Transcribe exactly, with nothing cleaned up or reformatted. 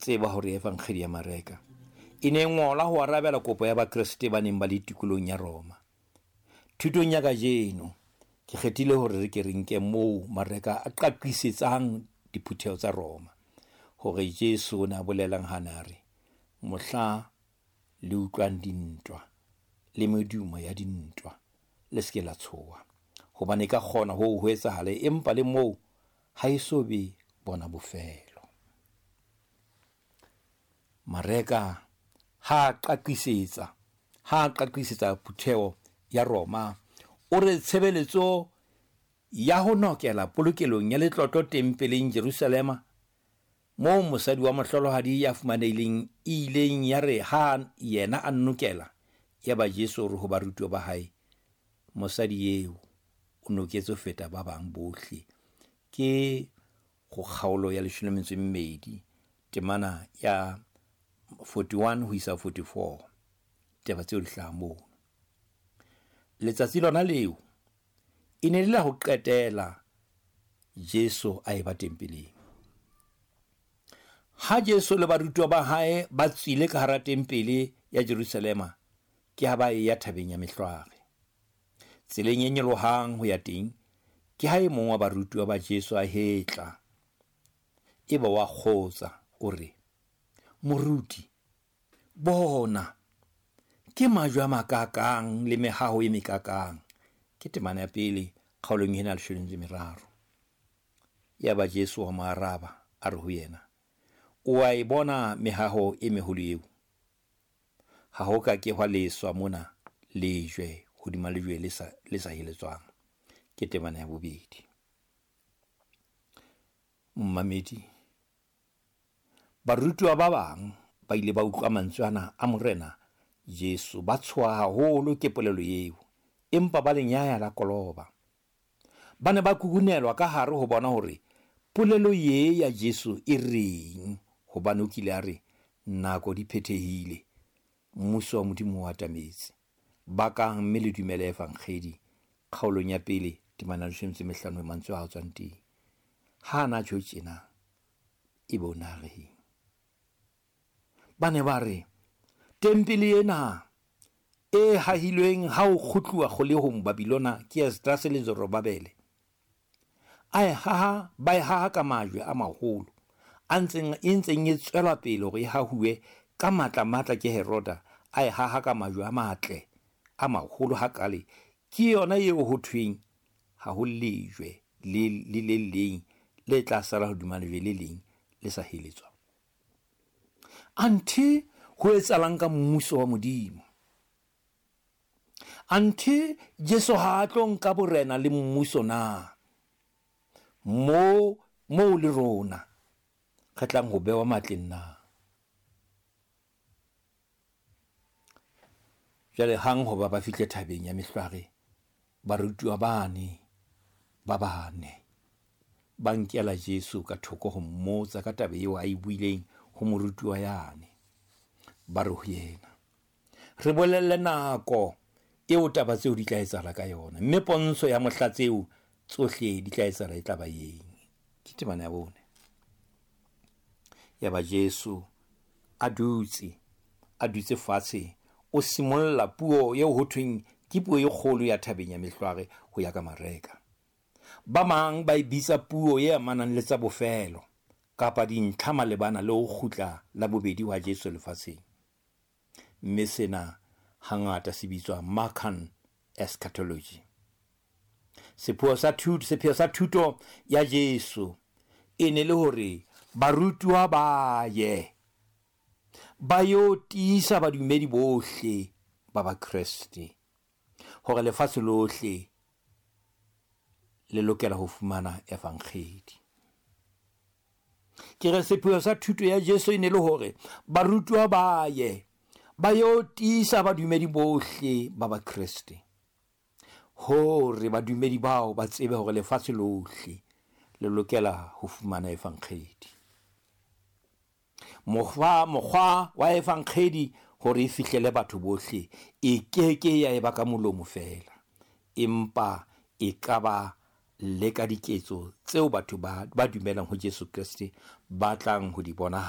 Tseba hore Evangeli ya Mareka e ne e ngolwa ho arabela kopo ya Bakreste ba neng ba le tikolong ya Roma. Thutong ya kajeno ke kgethile hore re ke re nke moo Mareka a qaqisetsang diphutheho tsa Roma hore Jesu o ne a bolelang ha na re mohla le utlwang dintwa le medumo ya dintwa le se ke la tshoha, hobane e ka kgona ho ho etsahale, empa le moo ha e so be bona bofelo. Mareka ha qaqisetsa ha qaqisetsa phutheho ya Roma, o re tshebeletso ya ho nokela polokelong ya letlotlo tempeleng Jerusalema, moo mosadi wa mohlolohadi ya fumanehileng e ileng ya re ha yena a nokela, yaba Jesu o re ho barutuwa ba hae, mosadi eo o noketse ho feta ba bang bohle. Ke go kgaolo ya leshome le metso e mmedi, temana ya forty-one ho isa forty-four. Taba tseo di hlaha moo. Letsatsi lona leo e ne le la ho qetela Jesu a eba tempeleng. Ha Jesu le barutuwa ba hae ba tswile ka hara tempele ya Jerusalema, ke ha ba eya thabeng ya Mehlware. Tseleng e nyolohang ho ya teng, ke ha e mong wa barutuwa ba Jesu a hetla, eba wa kgotsa, o re, Moruti, bona, ke majwe a makakang le mehaho e mekakang. Ke temana ya pele kgaolong ena ya leshome le meraro. Yaba Jesu wa mo araba, a re ho yena, o a e bona mehaho e meholo eo? Ha ho ka ke hwa leswa mona lejwe hodima lejwe le sa, le sa heletswang. Ke temana ya bobedi. Momamedi, barutuwa ba bang ba ile ba utlwa mantswe ana a Morena Jesu, ba tshoha haholo ke polelo eo, empa ba le nyaya la koloba. Ba ne ba kukunelwa ka hare ho bona hore polelo ye ya Jesu e reng, hobane o kile a re nako di phethehile, mmuso wa Modimo o atametse. Bakang mme le dumele Evangeli, kgaolong ya pele temana ya leshome le metso e mehlano, mantswe a tswang teng. Ha ana tjho tjena, ebe o na reng? Ba ne ba re tempele ena e hahilweng ha o kgutluwa kgolehong Babilona ke Esdrase le Zorobabele, a e haha, ba e haha ka majwe a maholo a ntseng e ntseng e tswela pele hore e hahuwe ka matla matla ke Heroda, a e haha ka majwe a matle a maholo hakale. Ke yona eo ho thweng ha ho lejwe le le le leng le tla sala hodima lejwe le leng le sa heletswa. Anthe ho etsahalang ka mmuso wa Modimo? Anthe Jesu ha a tlo nka borena le mmuso na? Mo mo le rona re tlang ho bewa matleng na? Jwale hang hoba ba fihle thabeng ya Mehlware, barutuwa bane ba bane ba nkela Jesu ka thoko ho mmotsa ka taba eo a e buileng ho morutuwa yane. Ba re ho yena, re bolelle nako eo taba tseo di tla etsahala ka yona, mme pontsho ya mohla tseo tsohle di tla etsahala e tla ba eng? Ke temana ya bone. Yaba Jesu a dutse, a dutse fatshe, o simolla puo eo ho thweng ke puo e kgolo ya thabeng ya Mehlware ho ya ka Mareka. Ba mang ba e bitsa puo e amanang le tsa bofelo kapa dintlha malebana le ho kgutla la bobedi wa Jesu lefatsheng. Mme sena hangata se bitswa Markan eschatology. Sepheo sa thuto, sepheo sa thuto ya Jesu e ne le hore barutuwa ba ye ba yo tiisa badumedi bohle ba Bakreste hore lefatshe lohle le lokela ho fumana evangeli. Ke re sepheo sa thuto ya Jesu e ne le hore barutuwa ba ye ba yo tiisa badumedi bohle ba Bakreste, hore badumedi bao ba tsebe hore lefatshe lohle le lokela ho fumana evangeli. Mokgwa, mokgwa wa evangeli hore e fihlele batho bohle e keke ya eba ka molomo feela, empa e ka ba le ka diketso tseo batho ba, ba dumelang ho Jesu Kreste ba tlang ho di bona.